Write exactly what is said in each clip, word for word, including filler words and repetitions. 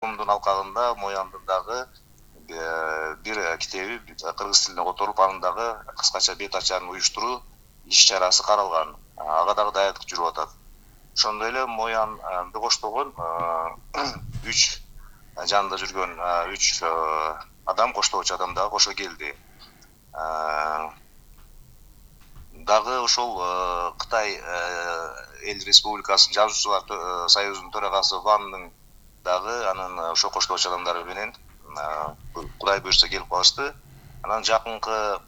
форумдун алкагында Мояндын дагы бир китеби кыргыз тилине которуп, анын дагы кыскача бет ачарын уюштуруу иш чарасы каралган. Ага дагы даярдык жүрүп атат. Ошондой эле Моянды коштогон үч жанында жүргөн үч адам, коштоочу адам дагы кошо келди. Дагы ошол Кытай Эл Республикасынын жазуучулар союзунун төрагасы Вандын дагы анын ошо коштоочу адамдары менен Кудай буйрса келип калышты. Анан жакынкы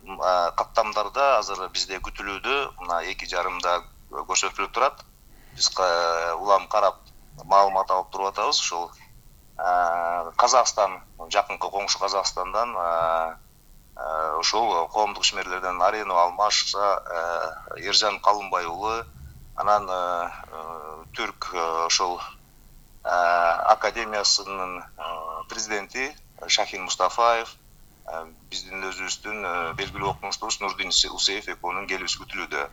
каттамдарда азыр бизде күтүлүүдө мына эки жарымда көрсөтүлүп турат. Биз улам карап маалымат алып туруп атабыз. Ошол Казакстан, жакынкы коңшу Казакстандан ошол коомдук ишмерлерден Арено Алмаша, Эржан Калымбай уулу, анан Түрк ошол академиясынын президенти Шахин Мустафаев, биздин өзүбүздүн белгилүү окумуштубуз Нурдин Усеев экөөнүн келүүсү күтүлүүдө.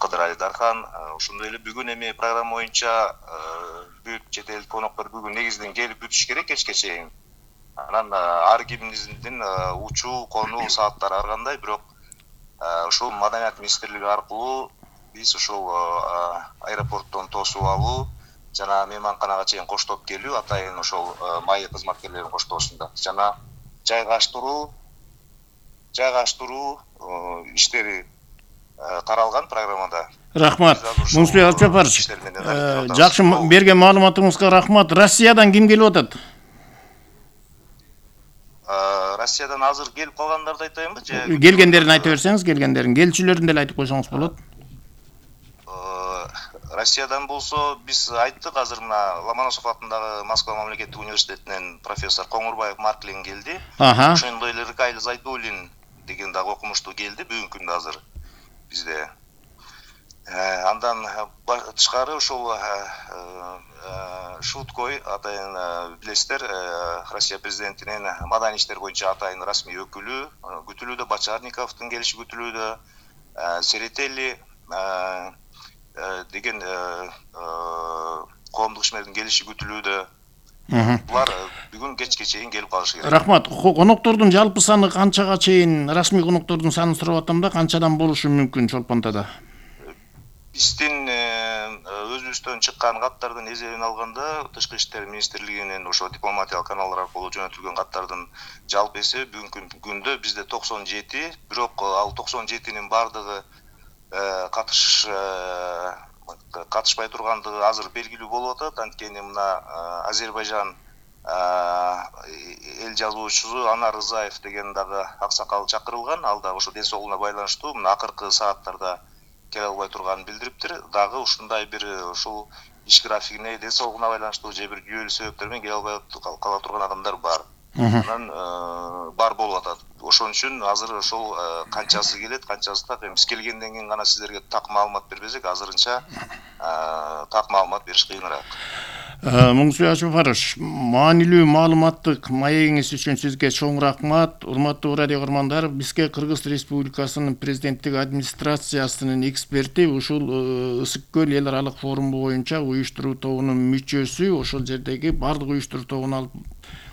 Кыдыр Айдархан, ошондой эле бүгүн эми программа боюнча бүт чет элдик коноктор бүгүн негизинен келип бүтүш керек кечке чейин. Анан ар кимдин учуу, конуу сааттары ар кандай, бирок ошол Маданият министрлиги аркылуу биз ошол аэропорттон тосуп алуу жана мейманканага чейин коштоп келүү, атайын ошол майы кызматкерлеринин коштоосунда жана жайгаштыруу жайгаштыруу иштери каралган программада. Рахмат. Мунсубек Алчапарович, жакшы берген маалыматыңызга рахмат. Россиядан ким келип атат? Россиядан азыр келип калгандарды айтайынбы же? Келгендерин айта берсеңиз, келгендерин, келчүлөрүн деле айтып койсоңуз болот. Россиядан болсо биз айттык, азыр мына Ломоносов атындагы Москва мамлекеттик университетинен профессор Коңурбаев Марклин келди. Ошондой эле Рыкайлы Зайдуллин деген дагы окумуштуу келди бүгүнкү күндө азыр бизде. Андан тышкары ошол Шуткой атайын билесиздер, Россия президентинин маданий иштер боюнча атайын расмий өкүлү күтүлүүдө, Бочарниковдун келиши күтүлүүдө, Серетели деген коомдук ишмердин келиши күтүлүүдө. Булар бүгүн кечке чейин келип калышы керек. Рахмат. Коноктордун жалпы саны канчага чейин, расмий коноктордун санын сурап атам да, канчадан болушу мүмкүн Чолпонтада? Биздин өзүбүздөн чыккан каттардын эсебин алганда, Тышкы иштер министрлигинин ошо дипломатиялык каналдар аркылуу жөнөтүлгөн каттардын жалпы эсеби бүгүнкү күндө бизде токсон жети, бирок ал токсон жетинин бардыгы катыш катышпай тургандыгы азыр белгилүү болуп атат. Анткени мына Азербайжан эл жазуучусу Анар Рызаев деген дагы аксакал чакырылган. Ал да ошо ден соолугуна байланыштуу мына акыркы сааттарда келе албай турганын билдириптир. Дагы ушундай бир ушул иш графигине, ден соолугуна байланыштуу же бир жүйөлүү себептер менен келе албай кала турган адамдар бар. Анан бар болуп атат. Ошон үчүн азыр ошол канчасы келет, канчасы так, биз келгенден кийин гана сиздерге так маалымат бербесек, азырынча так маалымат бериш кыйыныраак. Мунсубек Алчапарович, маанилүү маалыматтык маегиңиз үчүн сизге чоң рахмат. Урматтуу радио көрөрмандар, бизге Кыргыз Республикасынын президенттик администрациясынын эксперти, ушул Ысык көл эл аралык форуму боюнча уюштуруу тобунун мүчөсү, ошол жердеги бардык уюштуруу тобун алып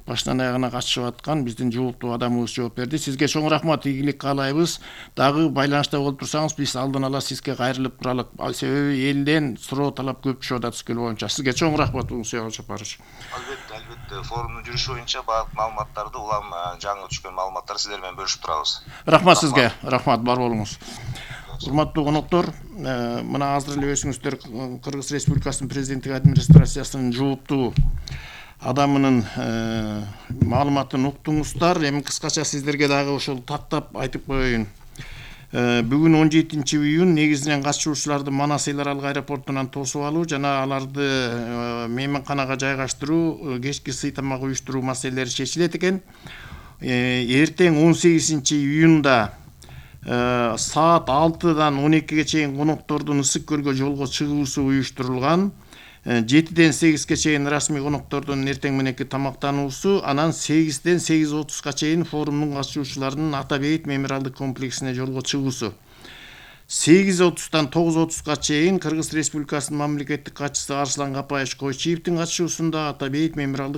баштан аягына катышып аткан биздин жооптуу адамыбыз жооп берди. Сизге чоң рахмат, ийгилик каалайбыз. Дагы байланышта болуп турсаңыз, биз алдын ала сизге кайрылып туралык. Себеби элден суроо талап көп түшүп атат Ысык көл боюнча. Сизге чоң рахмат, Мунсубек Алчапарович. Албетте, албетте, форумдун жүрүшү боюнча баардык маалыматтарды, улам жаңы түшкөн маалыматтарды сиздер менен бөлүшүп турабыз. Рахмат сизге, рахмат, бар болуңуз. Урматтуу коноктор, мына азыр эле өзүңүздөр Кыргыз Республикасынын президенттик администрациясынын жооптуу адамынын маалыматын уктуңуздар. Эми кыскача сиздерге дагы ошол тактап айтып коеюн. Бүгүн он жетинчи июнь негизинен катышуучуларды Манас эл аралык аэропортунан тосуп алуу жана аларды мейманканага жайгаштыруу, кечки сый тамак уюштуруу маселелери чечилет экен. Эртең он сегизинчи июнда саат алтыдан он экиге чейин коноктордун Ысык көлгө жолго чыгуусу уюштурулган. жетиден сегизге чейин расмий коноктордун эртең мененки тамактануусу, анан сегизден сегиз отузга чейин форумдун катышуучуларынын Ата бейит мемориалдык комплексине жолго чыгуусу. сегиз отуздан тогуз отузга чейин Кыргыз Республикасынын мамлекеттик катчысы Арслан Капаевич Койчиевдин катышуусунда Ата бейит мемориалдык